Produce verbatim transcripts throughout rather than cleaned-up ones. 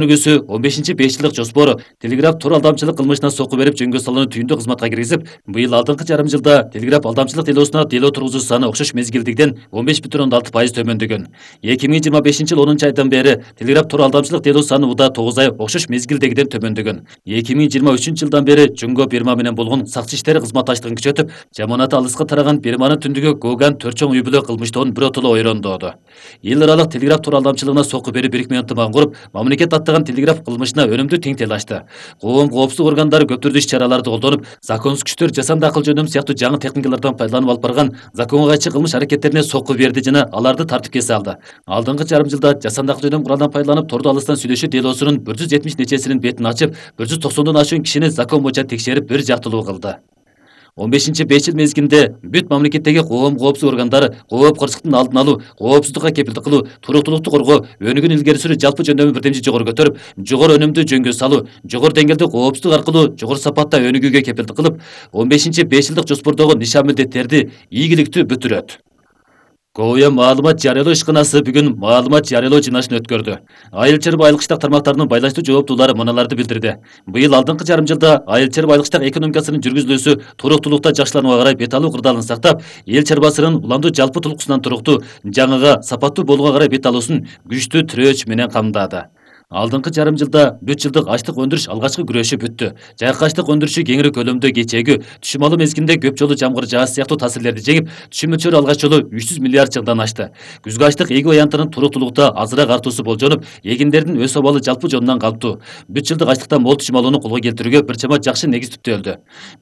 Өнүгүүсү он бешинчи беш жылдык жоспору Телеграф тур алдамчылык кылмышына сокку берип жөнгө салууну түйүндү кызматка киргизип, быйыл алдыңкы жарым жылда Телеграф алдамчылык делосуна дело тургузуу саны окшош мезгилдигиден он беш бүтүн ондон алты пайыз төмөндөгөн. эки миң жыйырма бешинчи жыл онунчу айдан бери Телеграф тур алдамчылык дело саны уда тогуз ай окшош мезгилдегиден төмөндөгөн. эки миң жыйырма үчүнчү жылдан бери Жөнгө Бирма менен болгон сакчы иштери кызматташтыгын күчөтүп, жаманаты алыска тараган Бирманын түндүгү Гоган төрт чоң үй бүлө кылмыштоон биротоло ойрондоодо. Эл аралык Телеграф тур алдамчылыгына сокку берип бирикме ынтымагын куруп, мамлекет аттаган Телеграф кылмышына өнүмдүү тең тил ачты. Коом коопсуздук органдары көп түрдүү иш-чараларды колдонуп, законсуз күчтөр жасанды акыл жөнөм сыяктуу жаңы техникалардан пайдаланып алып барган законго кайчы кылмыш аракеттерине сокку берди жана аларды тартипке салды. Алдыңкы жарым жылда жасанды акыл жөнөм куралдан пайдаланып тордо алыстан сүйлөшүү делосунун бир жүз жетимиш нечесинин бетин ачып, бир жүз токсондон ашуун кишини закон боюнча текшерип бир жактылуу кылды. он бешинчи беш жыл мезгилинде бүт мамлекеттеги коом коопсуздук органдары кооп кырсыктын алдын алуу, коопсуздукка кепилдик кылуу, туруктуулукту коргоо, өнүгүүнү илгери сүрүү жалпы жөндөмү бирдемчи жогору көтөрүп, жогору өнүмдүү жөнгө салуу, жогору деңгээлде коопсуздук аркылуу жогору сапатта өнүгүүгө кепилдик кылып, он бешинчи беш жылдык жоспордогу нишан милдеттерди ийгиликтүү бүтүрөт. Коя маалымат жарыялоо ишканасы бүгүн маалымат жарыялоо жыйналышын өткөрдү. Айыл чарба айыл кыштак тармактарынын байланыштуу жооптуулары мыналарды билдирди. Быйыл алдыңкы жарым жылда айыл чарба айыл кыштак экономикасынын жүргүзүлүүсү туруктуулукта жакшыланууга карай бет алуу кырдаалын сактап, эл чарбасынын уламдуу жалпы тулкусунан туруктуу, жаңыга, сапаттуу болууга карай бет алуусун күчтүү тирөөч менен камдады. Алдыңкы жарым жылда бүт жылдык ачлык өндүрүш алгачкы күрөшү бүттү. Жайкы ачлык өндүрүшү кеңири көлөмдө кечээгүү, түшүм алуу мезгилинде көп жолу жамгыр жааш сыяктуу таасирлерди жеңип, түшүм мөлчөрү алгач жолу үч жүз миллиард жылдан ашты. Күзгү ачлык эги аянтынын туруктуулукта азыраак артуусу болжонуп, эгиндердин өс абалы жалпы жонунан калптуу. Бүт жылдык ачлыктан мол түшүм алууну колго келтирүүгө бир чама жакшы негиз түптөлдү.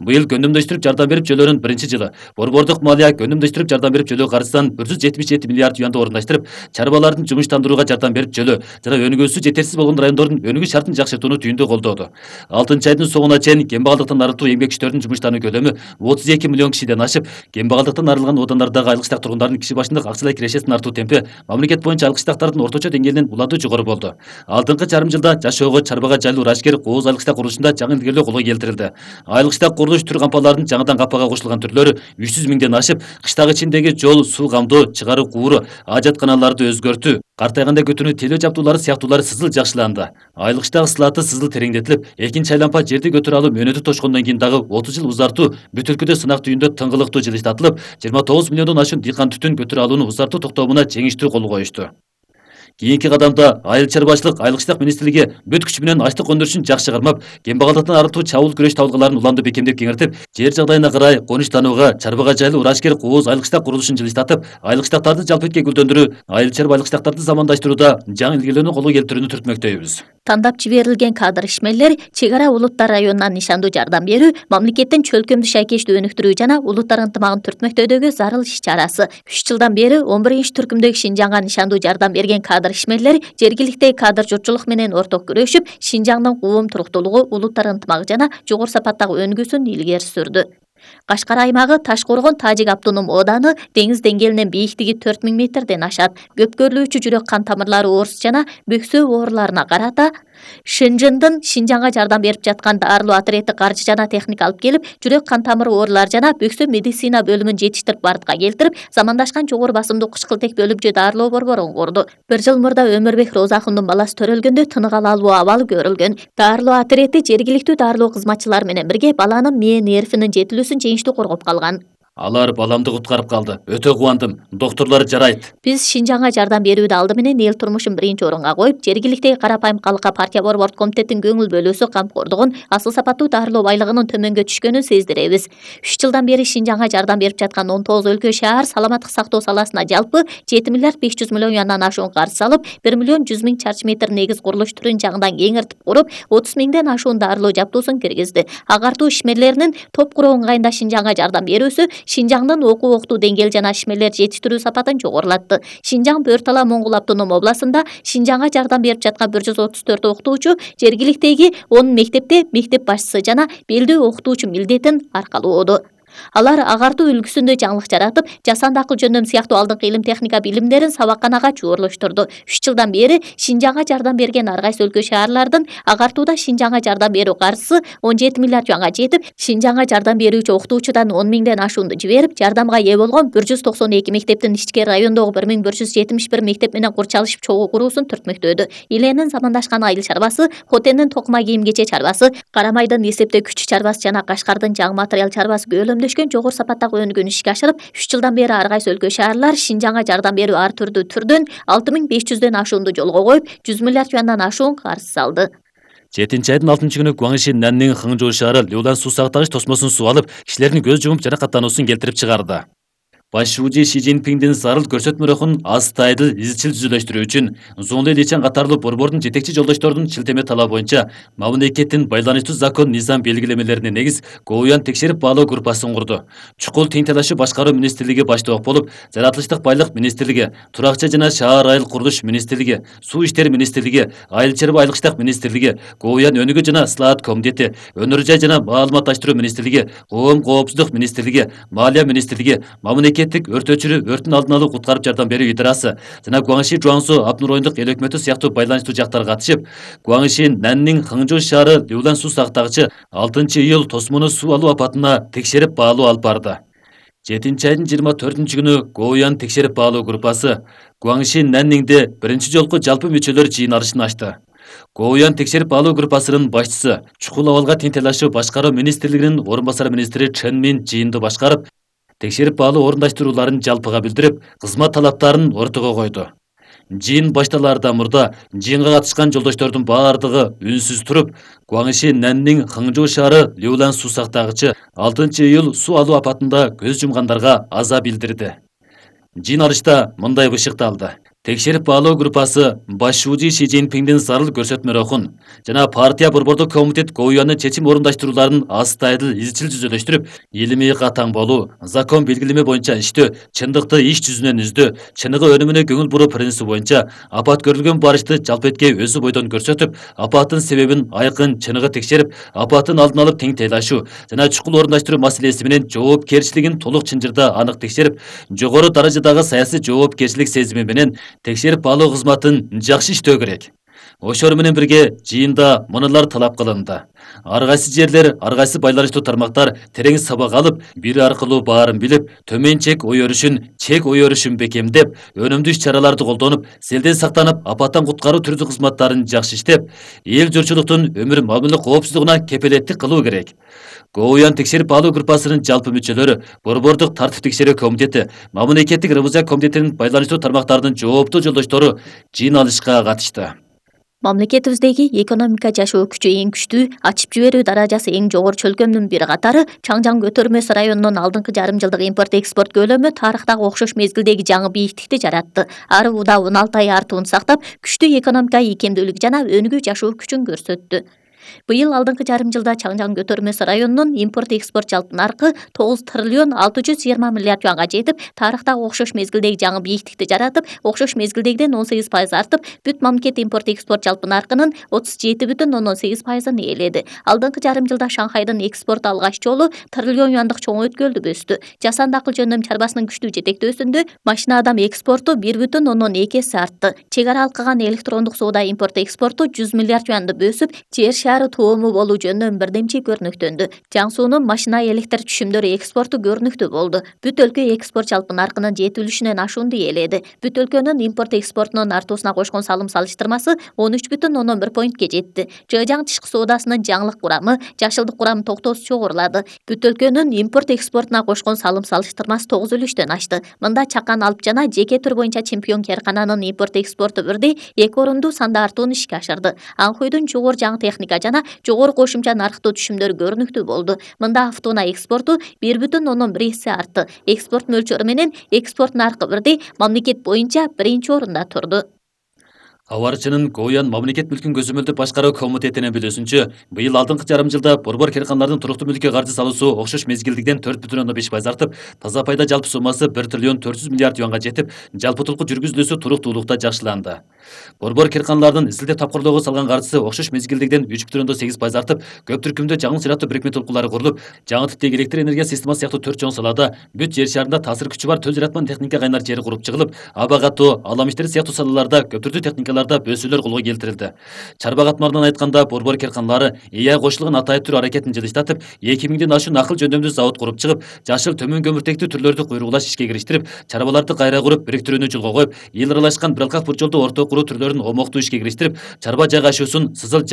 Быйыл көндүмдөштүрүп жардам берип жөлөөнүн биринчи жылы борбордук малия көндүмдөштүрүп жардам берип жөлөө каржысын бир жүз жетимиш жети миллиард юанды орундаштырып, чарбалардын жумуштандырууга жардам берип жөлөө жана өнүгүүсү жетерсиз болгон райондордун өнүгүү шартын жакшыртууну түйүндө колдоду. алтынчы айдын соңуна чейин кембагалдыктан арылтуу эмгек күчтөрүнүн жумуштануу көлөмү отуз эки миллион кишиден ашып, кембагалдыктан арылган оодандардагы айыл кыштак тургундардын киши башындык акчалай кирешесинин артуу темпи мамлекет боюнча айыл кыштактардын орточо деңгээлинен уланды жогору болду. Алдыңкы жарым жылда жашоого, чарбага жайлуу Рашкер Кооз айыл кыштак курулушунда жаңы илгерилөө колго келтирилди. Айыл кыштак курулуш түр кампаларынын жаңыдан каппага кошулган түрлөрү үч жүз миңден ашып, кыштак ичиндеги жол, суу камдоо, чыгаруу кууру, ажатканаларды өзгөртүү, картайганда көтүрүү телөө жабдуулары сыяктуулары сызыл жакшыланды. Айыл кыштак сылаты сызыл тереңдетилип, экинчи айлампа жерди көтөрө алуу мөөнөтү тошкондон кийин дагы отуз жыл узартуу бүт өлкөдө сынак түйүндө тыңгылыктуу жылыштатылып, жыйырма тогуз миллиондон ашуун дыйкан түтүн көтөрө алууну узартуу токтомуна жеңиштүү кол коюшту. Кийинки кадамда айыл чарбачылык айыл кыштак министрлиги бүт күчү менен ачлык өндүрүшүн жакшы кармап, кембагалдыктан арылтуу чабуул күрөш табылгаларын уламдуу бекемдеп кеңиртип, жер жагдайына карай конуштанууга, чарбага жайлуу Рашкер Кооз айыл кыштак курулушун жылыштатып, айыл кыштактарды жалпы этке гүлдөндүрүү, айыл чарба айыл кыштактарды замандаштырууда жаңы илгерилөөнү колго келтирүүнү түртмөктөйбүз. Тандап жиберилген кадр ишмерлер чек ара улуттар районунан нишандуу жардам берүү, мамлекеттин чөлкөмдү шайкештүү өнүктүрүү жана улуттар ынтымагын түртмөктөөдөгү зарыл иш-чарасы. үч жылдан бери он биринчи түркүмдөгү Шинжаңга нишандуу жардам берген кадр ишмерлер жергиликтеги кадр журтчулук менен орток күрөшүп, Шинжаңдын коом туруктуулугу, улуттар ынтымагы жана жогору сапаттагы өнүгүүсүн илгери сүрдү. Кашкар аймагы Таш-Коргон Тажик автоном ооданы деңиз деңгээлинен бийиктиги төрт миң метрден ашат. Көпкөрлүүчү жүрөк кан тамырлары оорусу жана бөксө ооруларына карата Шэньчжэндин Шинжаңга жардам берип жаткан дарылоо отрети каржы жана техника алып келип, жүрөк кан тамыры оорулары жана бөксө медицина бөлүмүн жетиштирип бардыкка келтирип, замандашкан жогору басымдуу кычкылтек бөлүмчө дарылоо борборун курду. Бир жыл мурда Өмүрбек Роза акындын баласы төрөлгөндө тынык ала алуу абалы көрүлгөн. Дарылоо отрети жергиликтүү дарылоо кызматчылары менен бирге баланын мээ нервинин жетилүүсүн жеңиштүү коргоп калган. Алар баламды куткарып калды. Өтө кубандым. Доктурлар жарайт. Биз Шинжаңга жардам берүүдө алды менен эл турмушун биринчи орунга коюп, жергиликтеги карапайым калкка партия борбордук комитеттин көңүл бөлүүсү камкордугун, асыл сапаттуу дарылоо байлыгынын төмөнгө түшкөнүн сездиребиз. үч жылдан бери Шинжаңга жардам берип жаткан он тогуз өлкө шаар саламаттык сактоо саласына жалпы жети миллиард беш жүз миллион юандан ашуун каржы салып, бир миллион жүз миң чарчы метр негиз курулуш түрүн жаңыдан кеңиртип куруп, отуз миңден ашуун дарылоо жабдуусун киргизди. Агартуу ишмерлеринин топ куруу ыңгайында Шинжаңга жардам берүүсү Шинжаңдын окуу октуу деңгээл жана ишмерлер жетиштирүү сапатын жогорулатты. Шинжаң Бөртала Моңгул автоном областында Шинжаңга жардам берип жаткан бир жүз отуз төрт окутуучу жергиликтеги он мектепте мектеп башчысы жана белдүү окутуучу милдетин аркалоодо. Алар агартуу үлгүсүндө жаңылык жаратып, жасанды акыл жөндөм сыяктуу алдыңкы илим техника билимдерин сабакканага чуурлуштурду. үч жылдан бери Шинжаңга жардам берген ар кайсы өлкө шаарлардын агартууда Шинжаңга жардам берүү каржысы он жети миллиард юанга жетип, Шинжаңга жардам берүүчү окутуучудан он миңден ашуунду жиберип, жардамга ээ болгон бир жүз токсон эки мектептин ички райондогу бир миң бир жүз жетимиш бир мектеп менен курчалышып чогуу куруусун түртмөктөдү. Иленин замандашкан айыл чарбасы, Хотендин токума кийим кече чарбасы, Карамайдын эсептөө күчү чарбасы жана Кашкардын жаң материал чарбасы көөлөмдөшкөн жогору сапаттагы өнүгүүнү ишке ашырып, үч жылдан бери ар кайсы өлкө шаарлар Шинжаңга жардам берүү ар түрдүү түрдөн алты миң беш жүздөн ашуунду жолго коюп, жүз миллиард юандан ашуун карыз салды. жетинчи айдын алтынчы күнү Гуаңши Наннин Хыңжоо шаары Лёулан суу сактагыч тосмосун суу алып, кишилердин көз жумуп жаракаттануусун келтирип чыгарды. Баш шүүжи Ши Цзиньпиңдин зарыл көрсөтмөрөхүн астайдыл изчил түзүлөштүрүү үчүн Зуңли Личен катарлуу борбордун жетекчи жолдошторунун шилтеме талабы боюнча мамлекеттин байланыштуу закон низам белгилемелерине негиз Гоуян текшерип баалоо группасын курду. Чукул тең талашуу башкаруу министрлиги баштоок болуп, Жаратылыштык байлык министрлиги, Туракча жана шаар айыл курулуш министрлиги, Суу иштери министрлиги, Айыл чарба айылыштык министрлиги, Гоуян өнүгүү жана ыслаат комитети, Өнөр жай жана маалыматташтыруу министрлиги, Коом коопсуздук министрлиги, Маалия министрлиги, мамлекеттик өрт өчүрүү өрттүн алдын алуу куткарып жардам берүү идарасы жана Гуаңши Жуаңсу Абнуройондук эл өкмөтү сыяктуу байланыштуу жактар катышып, Гуаңши Наннин Хыңжоо шаары Лёулан суу сактагычы алтынчы июль тосмону суу алуу апатына текшерип баалоо алып барды. жетинчи айдын жыйырма төртүнчү күнү Гоуян текшерип баалоо группасы Гуаңши Нанниңде биринчи жолку жалпы мүчөлөр жыйын алышын ачты. Гоуян текшерип баалоо группасынын башчысы, чукул абалга тең талашуу башкаруу министрлигинин орун басары министри Чен Мин жыйынды башкарып, текшерип баалоо орундаштырууларын жалпыга билдирип, кызмат талаптарын ортого койду. Жыйын башталаардан мурда жыйынга катышкан жолдоштордун баардыгы үнсүз туруп, Гуаңши Наннин Хыңжоо шаары Лёулан суу сактагычы алтынчы июль суу алуу апатында көз жумгандарга аза билдирди. Жыйын алышта мындай бышыкталды. Текшерип баалоо группасы баш шүүжи Ши Цзиньпиңдин зарыл көрсөтмөрөхүн жана партия борбордук комитет Гоуяндын чечим орундаштырууларын астайдыл изчил түзүлөштүрүп, илимий катаң болуу, закон белгилеме боюнча иштөө, чындыкты иш жүзүнөн издөө, чыныгы өнүмүнө көңүл буруу принципи боюнча апат көрүлгөн барышты жалпы этке өзү бойдон көрсөтүп, апаттын себебин айкын чыныгы текшерип, апаттын алдын алып тең тейлашуу жана чукул орундаштыруу маселеси менен жоопкерчилигин толук чынжырда анык текшерип, жогору даражадагы саясий жоопкерчилик сезими менен текшерип баалоо кызматын жакшы иштөө керек. Ошор менен бирге жыйында мунулар талап кылынды. Ар кайсы жерлер, ар кайсы байланыштуу тармактар терең сабак алып, бири аркылуу баарын билип, төмөн чек ой өрүшүн, чек ой өрүшүн бекемдеп, өнүмдүү иш-чараларды колдонуп, селден сактанып, апаттан куткаруу түрдүү кызматтарын жакшы иштеп, эл журчулуктун өмүр мамиле коопсуздугуна кепелеттик кылуу керек. Гоуян текшерип баалоо группасынын жалпы мүчөлөрү, борбордук тартип текшерүү комитети, мамлекеттик ревизия комитетинин байланыштуу тармактардын жооптуу жолдоштору жыйын алышка катышты. Мамлекетибиздеги экономика жашоо күчү эң күчтүү, ачып жиберүү даражасы эң жогору чөлкөмдүн бир катары Чаңжаң көтөрмөсү районунун алдыңкы жарым жылдык импорт-экспорт көлөмү тарыхтагы окшош мезгилдеги жаңы бийиктикти жаратты. Ары уда он алты ай артуун сактап, күчтүү экономика ийкемдүүлүк жана өнүгүү жашоо күчүн көрсөттү. Быйыл алдыңкы жарым жылда Чаңжаң көтөрмөсү районунун импорт-экспорт жалпы наркы тогуз триллион алты жүз жыйырма миллиард юанга жетип, тарыхтагы окшош мезгилдеги жаңы бийиктикти жаратып, окшош мезгилдегиден он сегиз пайыз артып, бүт мамлекет импорт-экспорт жалпы наркынын отуз жети бүтүн ондон сегиз пайызын ээледи. Алдыңкы жарым жылда Шанхайдын экспорту алгач жолу триллион юандык чоң өткөлдү өстү. Жасанды акыл жөндөм чарбасынын күчтүү жетектөөсүндө машина адам экспорту бир бүтүн ондон эки эсе артты. Чек ара алкаган электрондук соода импорт-экспорту жүз миллиард юанды өсүп, жер шаары тоому болуу жөнүндө бирдемчи көрүнүктөндү. Жаңсуунун машина электр түшүмдөрү экспорту көрүнүктүү болду. Бүт өлкө экспорт жалпы наркынын жетилүүшүнөн ашуунду ээледи. Бүт өлкөнүн импорт-экспортунун артуусуна кошкон салым салыштырмасы он үч бүтүн ондон бир поинтке жетти. Жыжаң тышкы соодасынын жаңылык курамы, жашылдык курамы токтоосуз чогурулады. Бүт өлкөнүн импорт-экспортуна кошкон салым салыштырмасы тогуз үлүштөн ашты. Мында Чакан Алп жана жеке түр боюнча чемпион Керкананын импорт-экспорту бирдей эки орунду санда артууну ишке ашырды. Анхойдун жогору жаңы техника жана жогору кошумча нарыктуу түшүмдөр көрүнүктүү болду. Мында автоунаа экспорту бир бүтүн ондон бир эсе артты. Экспорт мөлчөрү менен экспорт наркы бирдей, мамлекет боюнча биринчи орунда турду. Абарчынын Гоян мамлекет мүлкүн көзөмөлдөп башкаруу комитетинин билүүсүнчө, быйыл алдыңкы жарым жылда борбор керканлардын туруктуу мүлккө каржы салуусу окшош мезгилдигиден төрт бүтүн ондон беш пайыз артып, таза пайда жалпы суммасы бир триллион төрт жүз миллиард юанга жетип, жалпы утулку жүргүзүлүүсү туруктуулукта жакшыланды. Борбор керканлардын изилдеп тапкырлоого салган каржысы окшош мезгилдигиден үч бүтүн ондон сегиз пайыз артып, көп түркүмдүү жаңы сыйраттуу бирикме толкулары курулуп, жаңы типтеги электр энергия системасы сыяктуу төрт чоң салада бүт жер шарында таасир күчү бар төл жаратман техника кайнар жери куруп чыгылып, аба катуу, алам иштери сыяктуу салаларда көп түрдүү техникаларда бөөсүүлөр колго келтирилди. Чарба катмарынан айтканда, борбор керканлары эй ай кошулган атайып түр аракетин жылыштатып, эки миңден ашуун акыл жөндөмдүү завод куруп чыгып, жашыл төмөн көмүртектүү түрлөрдү куйругулаш ишке кириштирип, чарбаларды кайра куруп, бириктирүүнү жолго коюп, эл аралашкан бир алкак бурчолду орто куруу түрлөрүн омоктуу ишке кириштирип, чарба жайгашуусун, сызыл